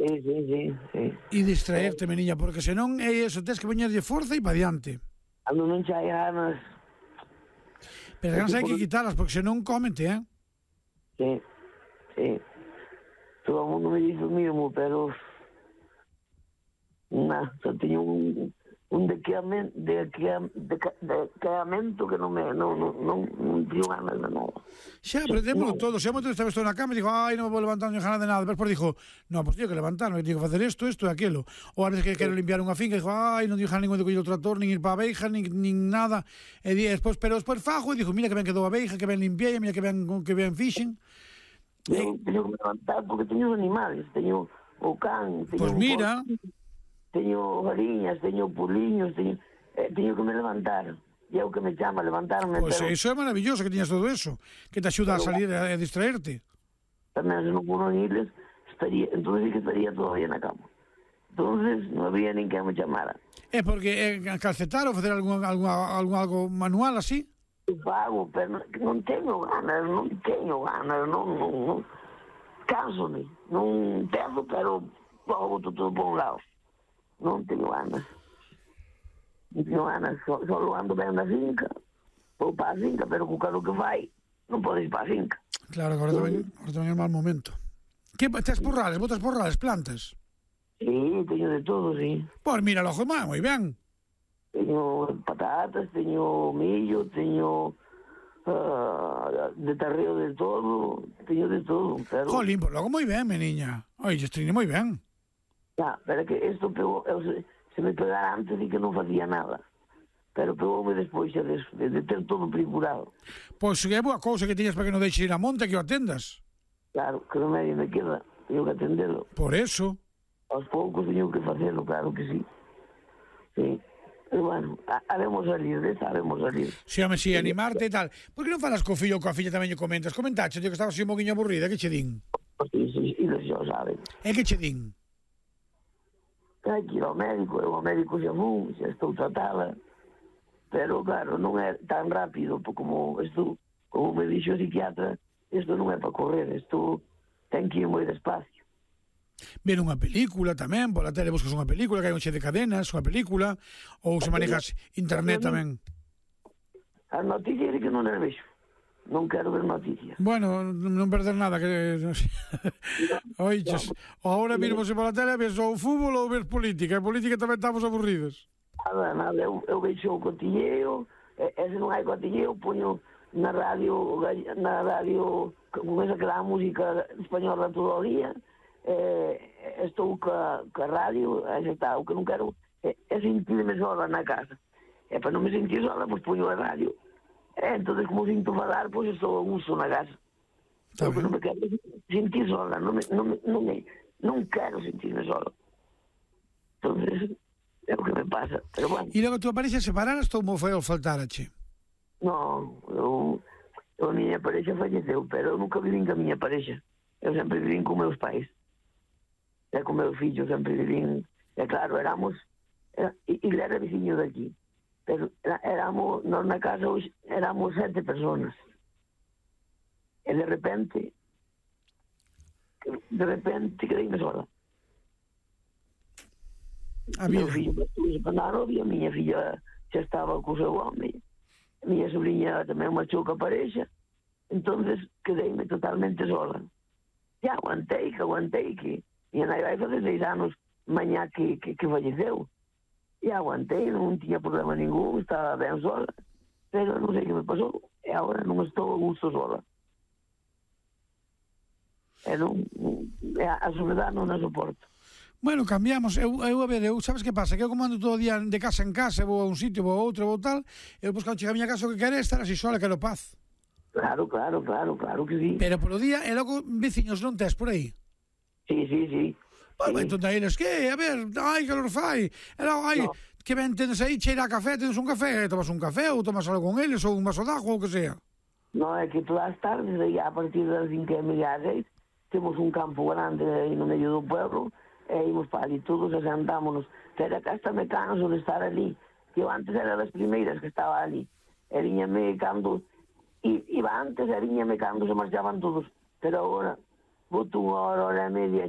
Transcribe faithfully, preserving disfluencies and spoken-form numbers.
Sí, sí, sí, sí. E distraerte, meniña, porque senón é eso, tens que poñerlle forza e pa diante. Cando non xa hai ganas... Pero as ganas hai que quitalas, porque senón cómete, eh? Sí, sí. Todo o mundo me dice o mismo, pero... Na, só teño un... un dequeamento, dequeamento que non me... non, non, non, non teño ganas de nada. Xa, aprendémoslo todo. Xa moito estaba estou na cama e digo, ai, non me vou levantar, non ganas de nada. Despois dixo, no, pois teño que levantarme, teño que facer isto, isto e aquilo. Ou a veces que quero limpiar unha finca, digo, ai, non teño ganas ningún de coller o trator, nin ir para a abeixa, nin, nin nada. E di, despois, pero despois fajo e digo, mira que ben quedou a abeixa, que ben limpiei, mira que ben, que ben fixen. Teño, teño que me levantar porque teño os animales, teño o can, teño... Pois mira... Teño gariñas, teño puliños, teño... Eh, teño que me levantar. E é o que me chama a levantarme. Pois pero... iso é maravilloso que tiñas todo eso, que te axuda pero... a salir e a distraerte. Tamén se non puno irles, estaría, entonces sí que estaría todavía na cama. Entonces non había nin que me chamara. É porque é calcetar ou facer algún, algún, algún algo manual así? Eu pago, pero non, non teño ganas, non teño ganas, non, non, non. Canso-me, non peso, pero pogo todo por un lado. Non teño ganas. Non teño ganas, só, só ando ben na finca, vou para a finca, pero co caro que vai, non podes ir para a finca. Claro, agora tamén, agora tamén é mal momento. Que, tes porrales, botas porrales, plantas? Sí, teño de todo, sí. Pois mira, lojo má, moi ben. Teño patatas, teño millo, teño uh, de tarreo de todo, teño de todo, pero... Jolín, pois logo moi ben, meniña. Oi, estrine moi ben. Ya, pero que isto pegou, eu, se, se me pegara antes e que non facía nada. Pero pegoume despois de, de, de ter todo procurado. Pois é boa cousa que tiñas para que non deixes ir a monte que o atendas. Claro, que remedio me queda, teño que atendelo. Por eso. Aos poucos teño que facelo, claro que sí. Sí. Pero bueno, haremos salir, desta haremos salir. Si, home, si, animarte e tal. Por que non falas co fillo ou coa filla tamén lle comentas? Comentaxe, tío, que estabas así un poquinho aburrida, que che din? Sí, sí, eles xa o saben. E que che din? Hai que ir ao médico, eu ao médico xa fun, xa estou tratada. Pero, claro, non é tan rápido, como isto, como me dixo o psiquiatra, isto non é para correr, isto ten que ir moi despacio. Ver unha película tamén, pola tele buscas unha película, que hai un xe de cadenas, unha película, ou se manejas internet tamén. As noticias é que non as vexo. Non quero ver noticias. Bueno, non perder nada, que... Oiches, ahora mismo se pola tele ves ou fútbol ou ves política, e política tamén estamos aburridos. Nada, nada, eu, eu vexo o cotilleo, e, e se non hai cotilleo, poño na radio, na radio, con esa que dá a música española todo o día, eh, estou ca, ca radio, aí está, o que non quero é, é sentirme sola na casa. E para non me sentir sola, pois poño a radio. E entón, como sinto falar, pois estou a gusto na casa. Está ben. Non me quero sentir sola, non, me, non, me, non, me, non quero sentirme sola. Entón, é o que me pasa, pero bueno. E logo tú apareces separaras ou mo foi ao faltarache? Non, eu, eu a miña parexa falleceu, pero eu nunca vivín ca miña parexa. Eu sempre vivín con meus pais. E con meus fillos sempre vivín. E claro, éramos... Era, e era veciño daqui. Pero era, éramos... Nós na casa hoxe éramos sete personas. E de repente... De repente quedeime sola. A vida. Meu fillo estuve para a novia, a miña filla xa estaba co seu home. A miña sobrinha tamén marchou ca parexa. Entonces quedeime totalmente sola. E aguantei, que aguantei, que minha nai vai fazer seis anos mañá que, que, que falleceu. E aguantei, non tinha problema ningún, estaba ben sola. Pero non sei que me pasou. E agora non estou a gusto sola. E non, a soledad non a soporto. Bueno, cambiamos, eu, eu a ver, eu, sabes que pasa? Que eu como ando todo o día de casa en casa, vou a un sitio, vou a outro, vou tal, eu depois cando chega a miña casa o que quero é estar así sola, quero paz. Claro, claro, claro, claro que sí. Pero polo día, e logo veciños non tes por aí? Sí, sí, sí. Pois sí. entón eles, que, a ver, ai, calor fai, e logo, ai, no. Que ben tenes aí, cheira a café, tenes un café, tomas un café, ou tomas algo con eles, ou un vaso de agua, ou que sea. Non, é que todas as tardes, aí, a partir das cinco e media, seis, temos un campo grande aí no medio do pueblo, e ímos para ali todos e sentámonos. Pero acá hasta me canso de estar ali, que eu antes era das primeiras que estaba ali. E viñame cando... Iba antes e viñame cando se marchaban todos. Pero agora, boto unha hora, hora e media,